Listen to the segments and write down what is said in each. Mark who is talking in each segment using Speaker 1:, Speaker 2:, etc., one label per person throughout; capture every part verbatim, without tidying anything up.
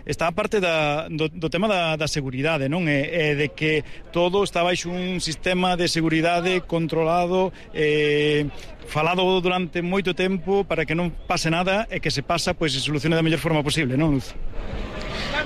Speaker 1: está a parte da, do, do tema da, da seguridade, non? E, e de que todo está baixo un sistema de seguridade controlado, eh, falado durante moito tempo para que non pase nada e que se pasa, pois se solucione da mellor forma posible, non, Luz?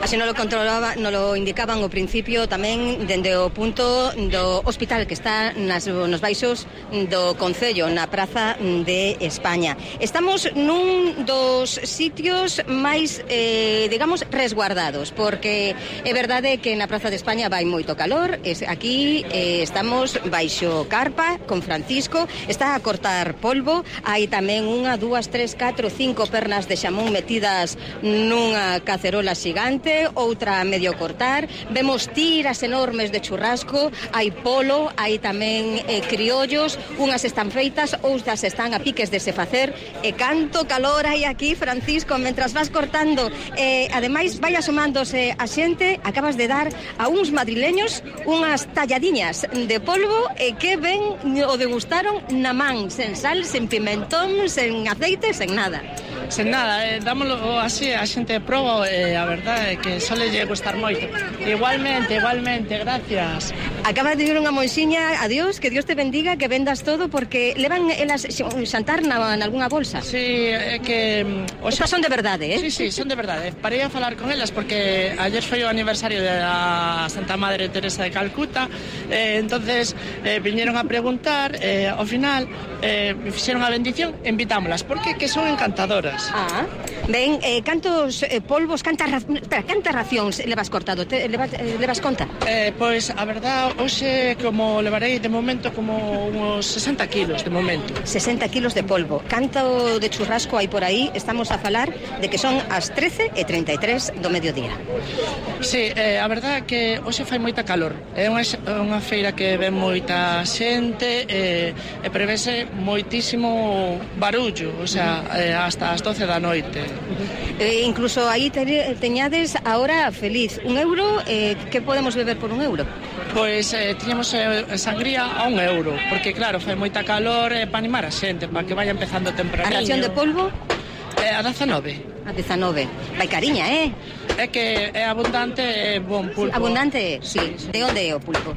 Speaker 2: Así non lo controlaba, non lo indicaban ao principio tamén dende o punto do hospital que está nas, nos baixos do Concello, na Praza de España. Estamos nun dos sitios máis, eh, digamos, resguardados, porque é verdade que na Praza de España vai moito calor. Aquí eh, estamos baixo carpa con Francisco, está a cortar polvo, hai tamén unha, dúas, tres, catro, cinco pernas de xamón metidas nunha cacerola xigante, outra a medio cortar, vemos tiras enormes de churrasco, hai polo, hai tamén eh, criollos, unhas están feitas, outras están a piques de se facer, e canto calor hai aquí, Francisco, mentras vas cortando. Eh, ademais, vai asomándose a xente, acabas de dar a uns madrileños unhas talladiñas de polvo e que ben o degustaron na man, sen sal, sen pimentón, sen aceite, sen nada.
Speaker 3: Sen nada, eh, dámoslo así, a xente proba e eh, a verdade é que só lle gustar moito. Igualmente, igualmente, gracias.
Speaker 2: Acaba de ir unha moixiña, adiós, que Dios te bendiga, que vendas todo, porque levan elas xantar na, na algunha bolsa.
Speaker 3: Sí, é que...
Speaker 2: O sea, son de verdade, eh?
Speaker 3: Sí, sí, son de verdade. Parei a falar con elas porque ayer foi o aniversario da Santa Madre Teresa de Calcuta, eh, entonces eh, viñeron a preguntar, eh, ao final eh, me fixeron a bendición, invitámolas, porque que son encantadoras.
Speaker 2: Ah, ben, eh, cantos eh, polvos, cantas, ra... Espera, cantas racións levas cortado? Te, levas, eh, levas conta?
Speaker 3: Eh, pois, a verdad, hoxe como levarei de momento como uns sesenta kilos de momento.
Speaker 2: sesenta kilos de polvo. Canto de churrasco hai por aí? Estamos a falar de que son as trece e trinta e tres do mediodía.
Speaker 3: Sí, eh, a verdad é que hoxe fai moita calor. É unha, unha feira que ven moita xente e, e prevese moitísimo barullo, o sea, eh, hasta as doce da noite.
Speaker 2: Eh, incluso aí te, teñades a hora feliz. Un euro, eh, que podemos beber por un euro?
Speaker 3: Pois eh, tiñamos eh, sangría a un euro, porque claro, fai moita calor eh, para animar a xente, para que vaya empezando tempraniño.
Speaker 2: A ración de polvo?
Speaker 3: Eh, a dezanove.
Speaker 2: A dezanove. Vai cariña, eh?
Speaker 3: É que é abundante e eh, bon pulpo.
Speaker 2: Abundante, sí. sí. De onde é o pulpo?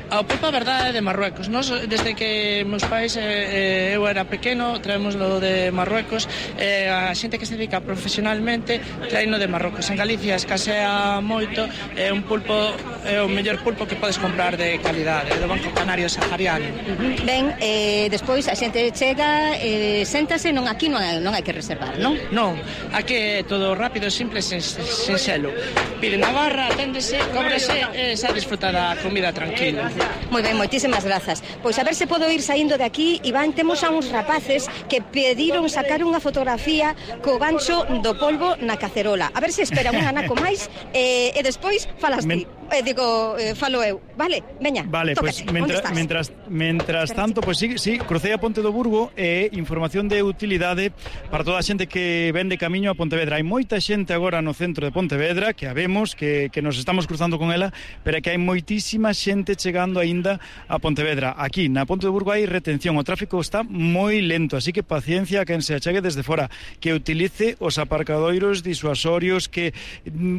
Speaker 3: A pulpa, a verdade, é de Marruecos. Nos, desde que meus pais eh, eu era pequeno, traémoslo de Marruecos. Eh, a xente que se dedica profesionalmente traíno de Marruecos. En Galicia escasea moito. É un pulpo, é o mellor pulpo que podes comprar de calidade, do Banco Canario Sahariano.
Speaker 2: Uh-huh. Ben, eh, despois a xente chega, eh, séntase, non aquí non hai, non hai que reservar, non?
Speaker 3: Non, aquí é todo rápido, simple, sen, sen xelo. Pide na barra, aténdese, cóbrese e xa disfruta da comida tranquila.
Speaker 2: Moi ben, moitísimas grazas. Pois a ver se podo ir saindo de aquí. Iván, temos a uns rapaces que pediron sacar unha fotografía co gancho do polvo na cacerola. A ver se espera un anaco máis e, e despois falas ti. Eh, digo, eh, falo eu. Vale, veña,
Speaker 1: vale,
Speaker 2: tócate.
Speaker 1: Pues, mentra, mentras, mentras tanto, pois pues, sí, sí, crucei a Ponte do Burgo e información de utilidade para toda a xente que ven de camiño a Pontevedra. Hai moita xente agora no centro de Pontevedra que a vemos, que, que nos estamos cruzando con ela, pero que hai moitísima xente chegando aínda a Pontevedra. Aquí, na Ponte do Burgo, hai retención, o tráfico está moi lento, así que paciencia a quen se achegue desde fora, que utilice os aparcadoiros disuasorios, que,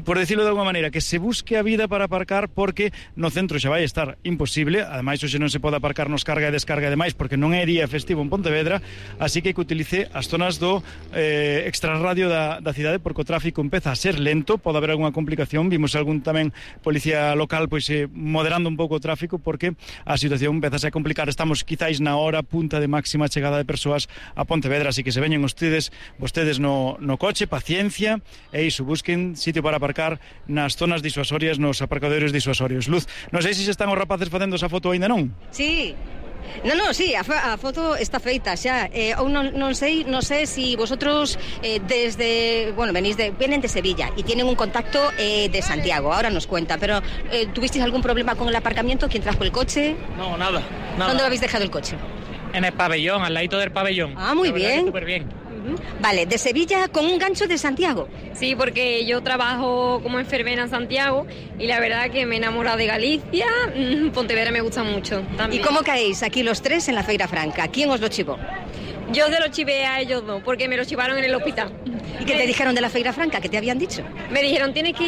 Speaker 1: por decirlo de alguma maneira, que se busque a vida para aparcar, porque no centro xa vai estar imposible. Ademais, hoxe non se pode aparcar nos carga e descarga demais, porque non é día festivo en Pontevedra, así que que utilice as zonas do eh, extrarradio da, da cidade, porque o tráfico empeza a ser lento, pode haber algunha complicación. Vimos algún tamén policía local pois eh, moderando un pouco o tráfico, porque a situación empeza a complicar. Estamos quizáis na hora punta de máxima chegada de persoas a Pontevedra, así que se veñen ustedes, vostedes no, no coche, paciencia, e iso, busquen sitio para aparcar nas zonas disuasorias, nos aparcadoiros disuasorios. Luz, non sei se se están os rapaces facendo esa foto aínda non?
Speaker 2: Sí. No, no, sí, a, a foto está feita xa. Eh, ou non, non sei, non sei si vosotros eh, desde, bueno, venís de, vienen de Sevilla y tienen un contacto eh, de Santiago. Ahora nos cuenta, pero eh, ¿tuvisteis algún problema con el aparcamiento? ¿Quién trajo el coche?
Speaker 3: No, nada, nada.
Speaker 2: ¿Dónde lo habéis dejado el coche?
Speaker 4: En el pabellón, al ladito del pabellón.
Speaker 2: Ah, muy bien.
Speaker 4: Súper bien.
Speaker 2: Vale, de Sevilla con un gancho de Santiago.
Speaker 5: Sí, porque yo trabajo como enfermera en Santiago y la verdad que me he enamorado de Galicia. Pontevedra me gusta mucho también.
Speaker 2: ¿Y cómo caéis aquí los tres en la Feira Franca? ¿Quién os lo chivó?
Speaker 5: Yo se lo chivé a ellos dos, porque me lo chivaron en el hospital.
Speaker 2: ¿Y qué te dijeron de la Feira Franca? ¿Qué te habían dicho?
Speaker 5: Me dijeron, tienes que